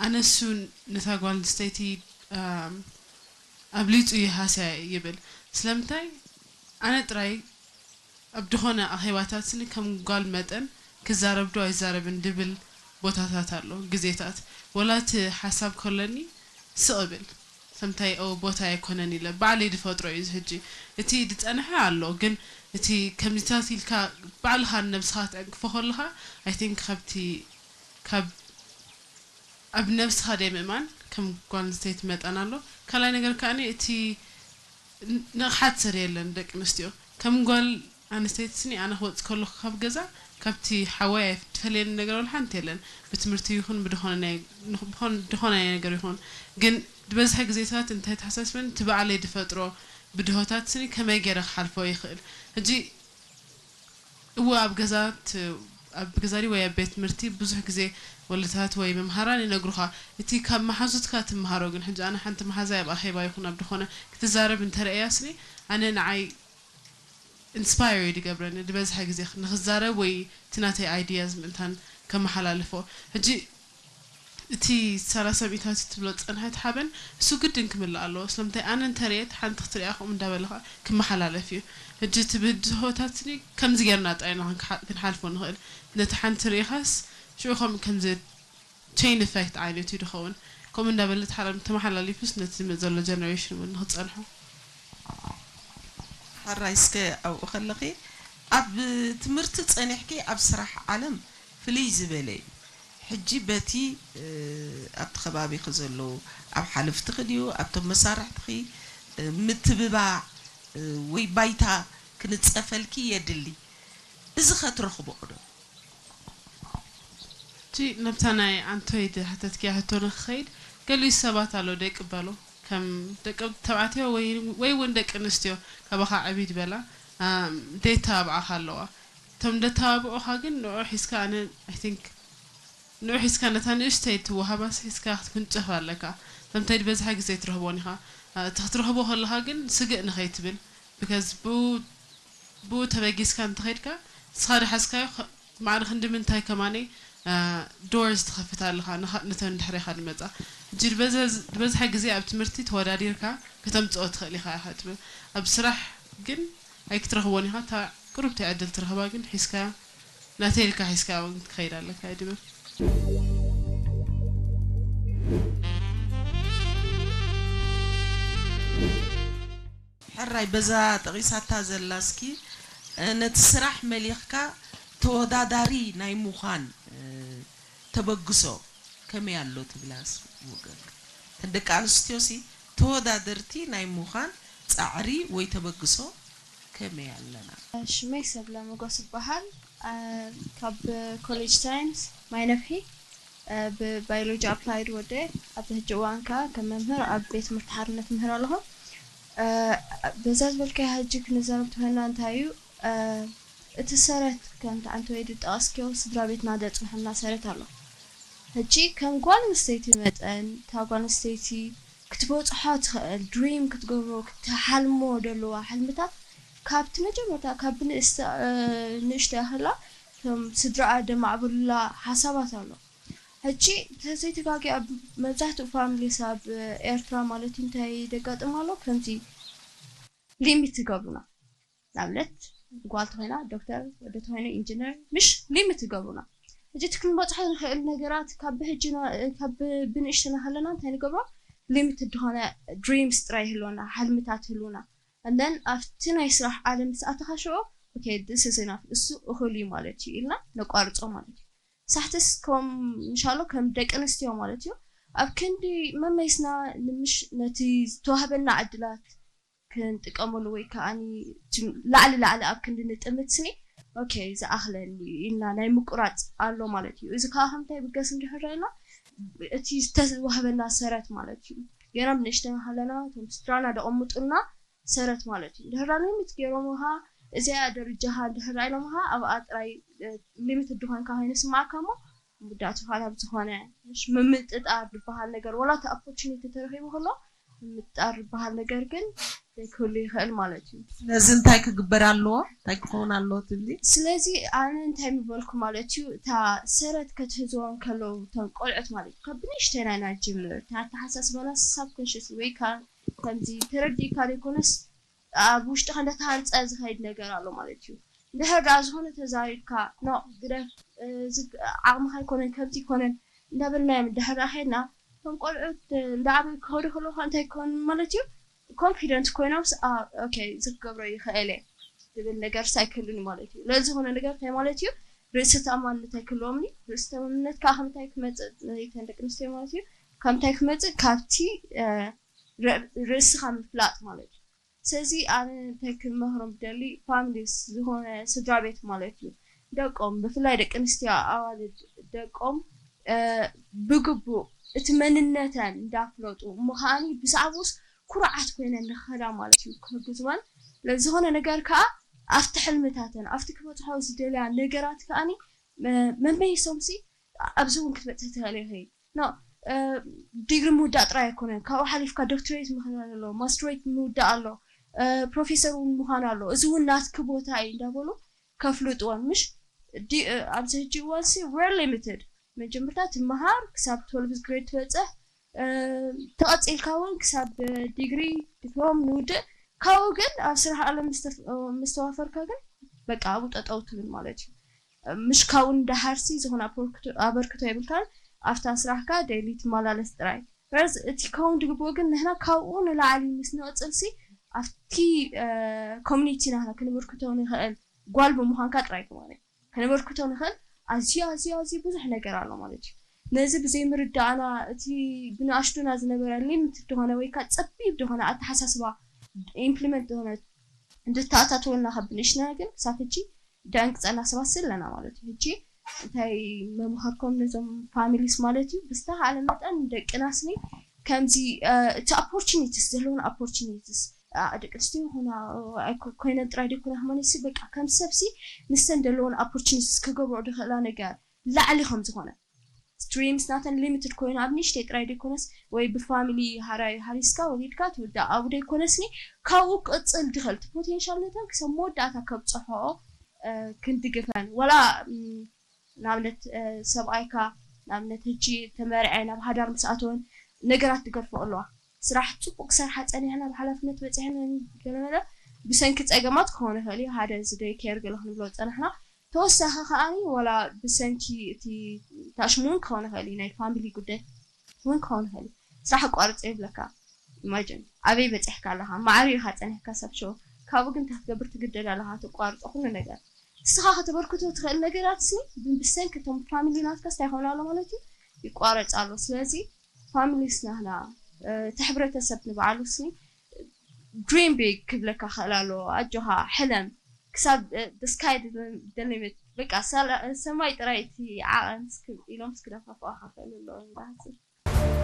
ኣነሱ ነታ ጓል ኣንስተይቲ ኣም፣ ኣብሊጹ ይሃስያ ይብል። ስለምንታይ ኣነ ጥራይ ኣብ ድኾነ ኣኼባታት ስኒ ከም ጓል መጠን ክዛረብ ዶ ኣይዛረብን ድብል ቦታታት ኣሎ፣ ግዜታት። ወላ እቲ ሓሳብ ከሎኒ ስቕ እብል። ሰምታይ ኦ ቦታ ኣይኮነን ኢለ ባዕለይ ዝፈጥሮ እዩ። እዚ ሕጂ እቲ ዝጸንሐ ኣሎ፣ ግን እቲ ከምዚታት ኢልካ ባዕልኻ ንነብስኻ ትዕንቅፎ ከለኻ፣ I think ካብቲ ካብ ኣብ ነብስኻ ደይ ምእማን ከም ጓል ኣንስተይቲ መጠን ኣሎ። ካልኣይ ነገር ከኣ እቲ ንቕሓት ሰብ የለን ደቂ ኣንስትዮ። ከም ጓል ኣንስተይቲ ስኒ ኣነ ክወጽእ ከለኹ ካብ ገዛ ካብቲ ሓወይ ኣይትፈልየኒ ነገር ወላ ሓንቲ የለን። ብትምህርቲ ይኹን ብድኾነ ናይ- ንኽ- ብኾን- ድኾነ ናይ ነገር ይኹን። ግን ዝበዝሐ ግዜታት እንታይ ተሓሳስበን እቲ ባዕለይ ድፈጥሮ ብድሆታት ስኒ ከመይ ገይረ ክሓልፎ ይኽእል። ሕጂ እወ ኣብ ገዛ ት- ኣብ ገዛ ድዩ ወይ ኣብ ቤት ትምህርቲ ብዙሕ ግዜ ወለታት ወይ መምሃራን ይነግሩኻ እቲ ካብ መሓዙትካ ትምሃሮ። ግን ሕጂ ኣነ ሓንቲ መሓዛይ ኣብ ኣኼባ ይኹን ኣብ ድኾነ ክትዛረብ እንተረእያ ስኒ ኣነ ንዓይ ኢንስፓየር እዩ ዝገብረኒ ዝበዝሐ ግዜ ንክዛረብ ወይ እቲ ናተይ ኣይድያዝ ምእንታን ከመሓላልፎ። ሕጂ እቲ ሰላሳ ሚእታዊት ትብሎ ዝጸንሐት ሓበን እሱ ግድን ክምላእ ኣለዎ። ስለምንታይ ኣነ እንተርእየት ሓንቲ ክትሪኣ ከምኡ እንዳበለ ከዓ ክመሓላለፍ እዩ። ሕጂ እቲ ብድሆታት ስኒ ከምዚ ጌርና ጥራይ ኢና ክንሓ- ክንሓልፎ ንኽእል። ነቲ ሓንቲ ርኢኻስ ሽዑ ከም ከምዚ ቸይን ኢፌክት ዓይነት እዩ ዝኸውን። ከምኡ እንዳበለ ተሓላ- ተመሓላሊፉስ ነቲ ዝመጽእ ዘሎ ጀነሬሽን እውን ንክጸንሖ። ሕራይ እስከ ኣብኡ ከለኺ ኣብ ትምህርቲ ጸኒሕኪ ኣብ ስራሕ ዓለም ፍልይ ዝበለ እዩ። ሕጂ በቲ ኣብቲ ከባቢኺ ዘለዉ ኣብ ሓለፍትኺ ድዩ ኣብቶም መሳርሕትኺ ምትብባዕ ወይ ባይታ ክንጸፈልኪ የድሊ። እዚ ከትረኽብኦ ዶ? እቲ ነብታ ናይ ኣንቶይ ዝሓተትክያ ሕቶ ንክኸይድ ገሊኡ ሰባት ኣሎ ዘይቅበሉ ከም ደቂ ተባዕትዮ ወይ ወይ እውን ደቂ ኣንስትዮ ካባኻ ዕብይ ዝበላ ኣም፣ ዘይተባብዓኻ ኣለዋ። እቶም ደተባብዑኻ ግን ንዑ ሒዝካ ኣነ I think ንዑ ሒዝካ ነታ ንእሽተይ ትወሃባስ ሒዝካ ክትውንጨፍ ኣለካ። ከምታይ ዝበዝሐ ግዜ ትረኽቦን ኢኻ። እ፣ እቲ ክትረኽቦ ከለኻ ግን ስግእ ንኸይትብል because ብኡ ብኡ ተበጊስካ እንተኸይድካ ንስኻ ዝሓዝካዮ ኸ- ማዕረ ክንዲ ምንታይ ከማነይ ዶርስ ትኸፍት ኣለኻ ንኻ- ነተን ድሕሬኻ ዝመጻ። ሕጂ ዝበዝሐ- ዝበዝሐ ግዜ ኣብ ትምህርቲ ተወዳዲርካ ከተምጽኦ ትኽእል ኢኻ ኢኻ ትብል። ኣብ ስራሕ ግን ኣይክትረኽቦን ኢኻ። እታ ቅሩብቲ ዕድል ትረኽባ ግን ሒዝካያ ናተይ ኢልካ ሒዝካያ እውን ክትኸይድ ኣለካ እየ ድብል። ሕራይ በዛ ጠቒሳታ ዘላ እስኪ ነቲ ስራሕ መሊኽካ ተወዳዳሪ ናይ ምዃን ተበግሶ ከመይ ኣሎ ትብላ ወገንካ? እተን ደቂ ኣንስትዮ ሲ ተወዳደርቲ ናይ ምዃን ጻዕሪ ወይ ተበግሶ ከመይ ኣለና? ሽመይ ሰብለ መጎስ ይበሃል። ካብ ኮሌጅ ሳይንስ ማይ ነፍሒ ብባዮሎጂ ኣፕላይድ ወደ ኣብዚ ሕጂ እዋን ከዓ ከም መምህር ኣብ ቤት ትምህርቲ ሓርነት ምህር ኣለኹ። በዛ ዝበልካዮ ሕጂ ክንዛረብ ተኾይና እንታይ እዩ እቲ ሰረት ከምቲ ዓንተወይ ዝጠቐስክዮ ስድራ ቤትና ዘፅንሐልና ሰረት ኣሎ። ሕጂ ከም ጓል ኣንስተይቲ መጠን እታ ጓል ኣንስተይቲ ክትበፅሖ ትኽእል ድሪም ክትገብሮ ክትሓልሞ ዘለዋ ሕልምታት ካብቲ መጀመርታ ካብ ብንእስተ ንእሽቶ ያኽላ ከም ስድራኣ ደማዕብሉላ ሓሳባት ኣሎ። ሕጂ ተዘይተጋጊ ኣብ መብዛሕትኡ ፋሚሊስ ኣብ ኤርትራ ማለት እዩ እንታይ ደጋጥም ኣሎ ከምዚ ሊሚት ትገብሩና ንኣብነት ጓል ተኾይና ዶክተር ወዲ ተኾይኑ ኢንጂነር ምሽ ሊሚት ትገብሩና ሕጂ እቲ ክንበፅሖ ንኽእል ነገራት ካብ ብሕጂ ካብ ብንእሽትና ከለና እንታይ ንገብሮ ሊሚት ዝኾነ ድሪምስ ጥራይ ይህልወና ሓልምታት ይህልውና and then ኣብቲ ናይ ስራሕ ዓለም ምስ ኣተኻ ሽዑ okay this is enough እሱ እኹል እዩ ማለት እዩ ኢልና ነቋርፆ ማለት እዩ ሳሕትስ ከም እንሻሎ ከም ደቂ ኣንስትዮ ማለት እዩ ኣብ ክንዲ መመይስና ንምሽ ነቲ ዝተዋህበና ዕድላት ክንጥቀመሉ ወይ ከዓ ላዕሊ ላዕሊ ኣብ ክንዲ ንጥምት ስኒ okay ዝኣኽለኒ ኢልና ናይ ምቁራፅ ኣሎ ማለት እዩ እዚ ከዓ ከምታይ ብገስ እንድሕር ና እቲ ዝተዋህበና ሰረት ማለት እዩ ገና ብንእሽተና ከለና እቶም ስድራና ደቐምጡልና ሰረት ማለት እዩ። እንድሕር ሊሚት ገይሮምኻ እዚኣ ደረጃኻ እንድሕር ኢሎምኻ ኣብኣ ጥራይ ሊሚት ድኾንካ ኮይኑ ስማዓካ እሞ ምውዳእቱ ፋና ብዝኾነ ምምጥጣር ዝበሃል ነገር ወላ እቲ ኦፖርቹኒቲ ተረኺቡ ከሎ ምጣር ዝበሃል ነገር ግን ዘይክህሉ ይኽእል ማለት እዩ። ስለዚ እንታይ ክግበር ኣለዎ? እንታይ ክኸውን ኣለዎ ትብሊ? ስለዚ ኣነ እንታይ ምበልኩ ማለት እዩ፣ እታ ሰረት ከትህዝዎም ከለዉ እቶም ቆልዑት ማለት እዩ ካብ ብንእሽተይ ናይ ናይ ጅምር እታ ኣተሓሳስባና ሳብኮንሽስ ወይ ከዓ ከምዚ ተረዲእካ ዘይኮነስ ኣብ ውሽጥኻ እንዳተሃንፀ ዝኸይድ ነገር ኣሎ ማለት እዩ። እንድሕር ደኣ ዝኾነ ተዛሪብካ ኖ ግደፍ፣ እዚ ዓቕምኻ ኣይኮነን ከምዚ ኣይኮነን እንዳበልናዮም እንድሕር ደኣ ከይድና እቶም ቆልዑት እንዳዓበዩ ክኸዱ ከለዉ እንታይ ክኾኑ ማለት እዩ፣ ኮንፊደንት ኮይኖም ኦኬ እዚ ክገብሮ ይኽእል እየ ዝብል ነገር ሳይክሉኒ ማለት እዩ። ለዝኾነ ነገር እንታይ ማለት እዩ፣ ርእሲ ተኣማንነት ኣይክህልዎም እዩ። ርእሲ ተኣማንነት ከዓ ከምታይ ክመፅእ ነተን ደቂ ኣንስትዮ ማለት እዩ፣ ከምታይ ክመፅእ ካብቲ ርእስኻ ምፍላጥ ማለት እዩ። ስለዚ ኣነ እንታይ ክመክሮም ብደሊ ፋሚሊስ ዝኾነ ስድራ ቤት ማለት እዩ ደቆም ብፍላይ ደቂ ኣንስትዮ ኣዋልድ ደቆም ብግቡእ እቲ መንነተን እንዳፍለጡ እሞ ከዓኒ ብዛዕባኡስ ኩርዓት ኮይነን ንኸዳ ማለት እዩ ክሕግዝወን ለዝኾነ ነገር ከዓ ኣብቲ ሕልምታተን ኣብቲ ክበፅሖ ዝደልያ ነገራት ከዓኒ መመይሶምሲ ኣብዚ እውን ክትበፅሒ ትኽእል ኢኺ ኖ ዲግሪ ምውዳእ ጥራይ ኣይኮነን ካብኡ ሓሊፍካ ዶክትሬት ምኽናን ኣሎ ማስትሬት ምውዳእ ኣሎ ፕሮፌሰር እውን ምዃን ኣሎ እዚ እውን ናትኪ ቦታ እዩ እንዳበሉ ከፍልጥወን ምሽ ኣብዚ ሕጂ እዋን ሲ ቨሪ ሊሚትድ መጀመርታ ትመሃር ክሳብ ትወልቭ ግሬድ ትበፅሕ ተቐፂልካ እውን ክሳብ ዲግሪ ዲፕሎም ንውድእ ካብኡ ግን ኣብ ስራሕ ዓለም ምስተዋፈርካ ግን በቃ ኣብኡ ጠጠው ትብል ማለት እዩ ምሽ ካብኡ ንደሓርሲ ዝኾነ ኣበርክቶ የብልካን ኣብታ ስራሕካ ዴይሊ ትመላለስ ጥራይ ርዝ እቲ ከውን ድግብኦ ግን ንሕና ካብኡ ንላዕሊ ምስ ንቕፅልሲ ኣብቲ ኮሚኒቲ ናህና ክንበርክቶ ንኽእል ጓል ብምዃንካ ጥራይ ማለት ከነበርክቶ ንኽእል ኣዝዩ ኣዝዩ ኣዝዩ ብዙሕ ነገር ኣሎ ማለት እዩ ነዚ ብዘይምርዳእና እቲ ብንኣሽቱና ዝነበረ ሊምት ዝኾነ ወይ ከዓ ፀቢብ ዝኾነ ኣተሓሳስባ ኢምፕሊመንት ዝኾነ እንድተኣታተወልና ካብ ብንእሽትና ግን ክሳብ ሕጂ ደንቅፀና ሰባት ኣለና ማለት እዩ ሕጂ እንታይ መምኸርኮም ነዞም ፋሚሊስ ማለት እዩ ብዝተኻኣለ መጠን ደቅናስኒ ከምዚ እቲ ኦፖርቹኒቲስ ዘለውን ኦፖርቹኒቲስ ደቂ ኣንስትዮ ይኹና ኮይነን ጥራይ ደይኮነ ከማን ሲ በቃ ከም ሰብሲ ንስተን ዘለውን ኦፖርቹኒቲስ ክገብርኦ ዝኽእላ ነገር ላዕሊ ከም ዝኾነ ድሪምስ ናተን ሊሚትድ ኮይኑ ኣብ ንእሽተይ ጥራይ ደይኮነስ ወይ ብፋሚሊ ሃራይ ሃሪስካ ወሊድካ ትውዳእ ኣብኡ ደይኮነስኒ ካብኡ ክቕፅል ድኽእል እቲ ፖቴንሻል ነተን ክሳብ መወዳእታ ከብፅሖኦ ክንድግፈን ዋላ ንኣብነት ሰብኣይካ ንኣብነት ሕጂ ተመርዐ ናብ ሃዳር ምስ ኣተወን ነገራት ትገድፎ ኣለዋ ስራሕ ፅቡቅ ክሰርሓ ፀኒሕና ብሓላፍነት በፂሐን ገለመለ ብሰንኪ ፀገማት ክኾን ይኽእል እዩ ሓደ እዚ ደይ ኬር ገለ ክንብሎ ዝፀናሕና ተወሳኺ ከዓኒ ዋላ ብሰንኪ እቲ ታሽም እውን ክኾን ይኽእል እዩ ናይ ፋሚሊ ጉዳይ እውን ክኾን ይኽእል እዩ ስራሕ ኣቋርፀ ይብለካ ኢማጅን ኣበይ በፂሕካ ኣለኻ ማዕሪ ኢኻ ፀኒሕካ ሰብ ሸው ካብኡ ግን እንታይ ክትገብር ትግደድ ኣለኻ ትቋርፆ ኩሉ ነገር ንስኻ ከተበርክቶ ትኽእል ነገራት ሲ ብሰንኪ እቶም ፋሚሊ ናትካ ስታይ ይኸውን ኣሎ ማለት እዩ ይቋረፅ ኣሎ ስለዚ ፋሚሊስ ናህና እቲ ሕብረተሰብ ንባዕሉ ሲ ድሪም ቢግ ክብለካ ክእል ኣሎ ኣጆኻ ሕለም ክሳብ ስካይ ደሊሚት በቃ ሰማይ ጥራይ እቲ ዓቐን ኢሎም ስክደፋፍኣካ ክእል ኣለዎ